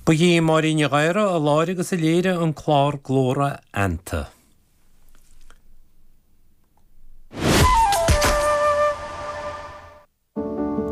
Ba í Máirín Ní Ghadhra a láithrigh agus a léirigh an clár Glór Fheannta.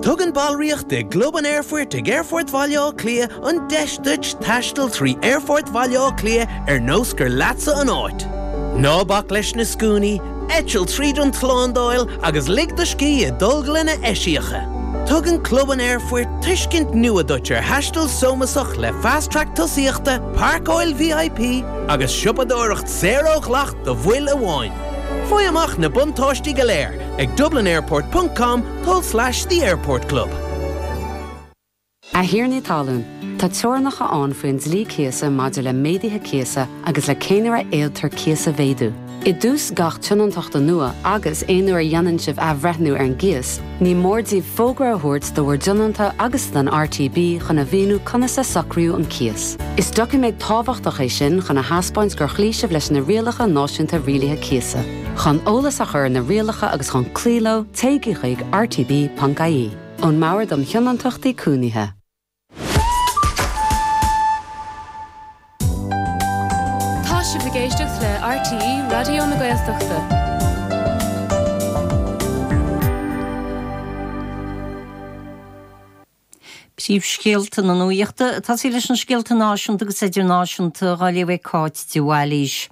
Tugann ballraíocht i gClub an Aerfoirt ag Aerfort Bhaile Átha Cliath an deis duit taisteal trí Aerfort Bhaile Átha Cliath ar nós gur leatsa an áit. Ná bac leis na scuainí, eitil tríd an tslándáil agus lig do scíth i dtolglanna eisiacha. Tugann Club an Aerfoirt tuiscint nua duit ar thaisteal sómasach le Fast Track tosaíochta, páirceáil VIP agus siopadóireacht saor ó dhleacht do bhaill amháin. Faigh amach na buntáistí go léir ag dublinairport ponc com tulslais The Airport Club. A thiarnaí talún, tá teorainneacha ann faoin dlí cíosa maidir le méaduithe cíosa agus le cén uair a fhéadtar cíos a mhéadú. I dtús gach tionóntachta nua agus aon uair a dhéanann sibh athbhreithniú ar an gcíos, ní mór daoibh fógra a thabhairt do bhur dtionónta agus don RTB chun a mhíniú conas a socraíodh an cíos. Is doiciméad tábhachtach é sin chun a thaispeáint gur chloígh sibh leis na rialacha náisiúnta rialaithe cíosa. Chun eolas a chur ar na rialacha agus chun cloí leo, téigí chuig rtb.ie. Ón mBord um Thionóntachtaí Cónaithe. Tá sibh ag éisteacht le RTÉ Raidió na Gaeltachta. Príomhscéalta na nuachta, ag tosaí leis na scéalta náisiúnta agus idirnáisiúnta, á léamh ag Cáit de Bhailís.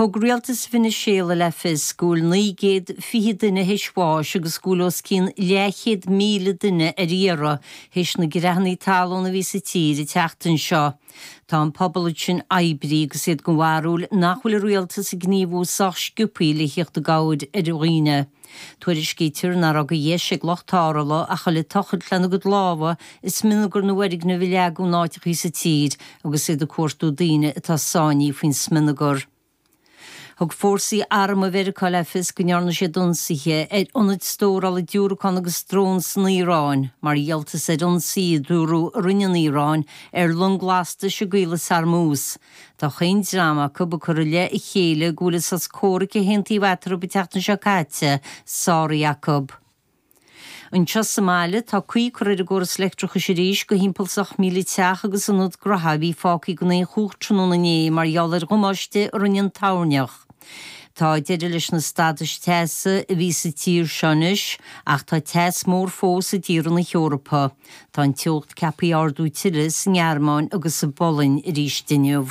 Thug rialtas Veiniséala le fios go bhfuil 920 duine théis bháis agus go bhfuil os cionn leathchéad míle duine ar iarraidh théis na gcreathanna talún a bhí sa tír an tseachtain seo. Tá an pobal ansin oibrithe agus iad den bharúil nach bhfuil an rialtas ag gníomhú sách sciobthaí le thíocht i gcabhair ar dhaoine. Tuairiscítear nach raibh de dheis ag lucht tarrthála ach a dhul ag tochailt lena gcuid lámha i smionagar na bhfoirgneamh a leagadh in áiteachaí sa tír agus iad ag cuartú daoine atá sáinnithe faoin smionagar. Thug fórsaí armtha Mheiriceá le fios go ndearna siad ionsaithe ar ionaid stórála diúracán agus drón san Iaráin mar dhíoltas ar ionsaí a dúradh a rinne an Iaráin ar long lastais i gCaolas Hormuz. Tá chaon dream acu ag cur i leith a chéile go bhfuil an sos comhraic a haontaíodh eatarthu an tseachtain seo caite sáraithe acu. Anseo sa mbaile, tá caoi curtha ar an gcóras leictreachais arís do thimpeall is 8,000 teach agus ionad gnaithe a bhí fágtha gan aon chumhacht tráthnóna inné mar gheall ar dhamáiste a rinne an toirneach. Tá deireadh leis na stadais teasa a bhí sa tír seo anois ach tá teas mór fós i dtíortha na hEorpa. Tá an teocht ceaptha a ardú tuilleadh sa nGearmáin agus sa bPolainn arís inniu.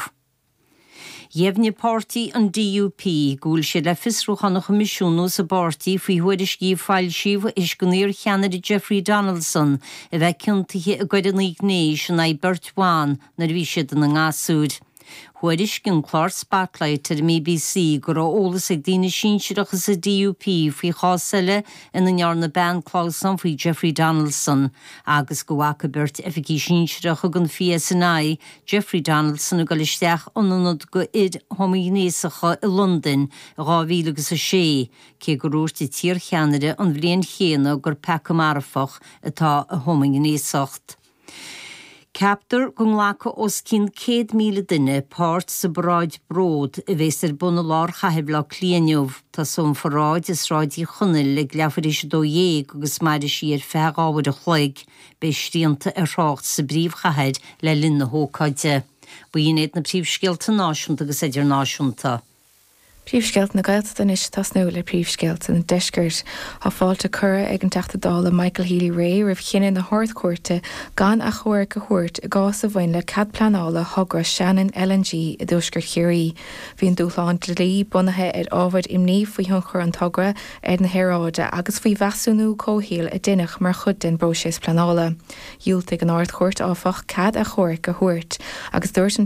Dheimhnigh páirtí an DUP go bhfuil siad le fiosrúchán a choimisiúnú sa bpáirtí faoi thuairiscí a foilsíodh théis don iar-cheannaire Jeffrey Donaldson a bheith ciontaithe i gcoireanna gnéis in aghaidh beirt bhan nuair a bhí siad ina ngasúir. Thuairiscigh an clár Spotlight ar an mBBC go raibh eolas ag daoine sinsearacha sa DUP faoi chás eile ina ndearna bean clamhsán faoi Jeffrey Donaldson agus go bhfaca beirt oifigigh sinsearacha den PSNI Jeffrey Donaldson ag dul isteach in ionad do fhir homaighnéasacha i Londain i 2006, cé gur dhúirt an t-iarcheannaire an bhliain chéanna gur peaca marfach atá i homaighnéasacht. Ceaptar go nglacfaidh os cionn 100,000 duine páirt sa bparáid Bród a bhéas ar bun i lár chathair Bhaile Átha Cliath inniu. Tosóidh an pharáid i Sráid Uí Chonaill ag leathuair théis 12 agus mairfidh sí ar feadh dhá uair a chloig. Beidh srianta ar thrácht sa bpríomhchathair le linn na hócáide. B'in iad na príomhscéalta náisiúnta agus idirnáisiúnta. Príomhscéalta na Gaeltachta anois ag tosnú le príomhscéalta an Deiscirt. Tá fáilte curtha ag an Teachta Dála Michael Healy-Rae roimh chinneadh na hArd-Chúirte gan achomharc a thabhairt i gcás a bhain le cead pleanála thogra Shannon LNG i dtuaisceart Chiarraí. Bhí an dúshlán dlí bunaithe ar ábhair imní faoi thionchar an togra ar na haeráide agus faoi mheasúnú comhshaoil a deineadh mar chuid den bpróiseas pleanála. Dhiúltaigh an Ard-Chúirt, áfach, cead achomhairc a thabhairt agus dúirt an.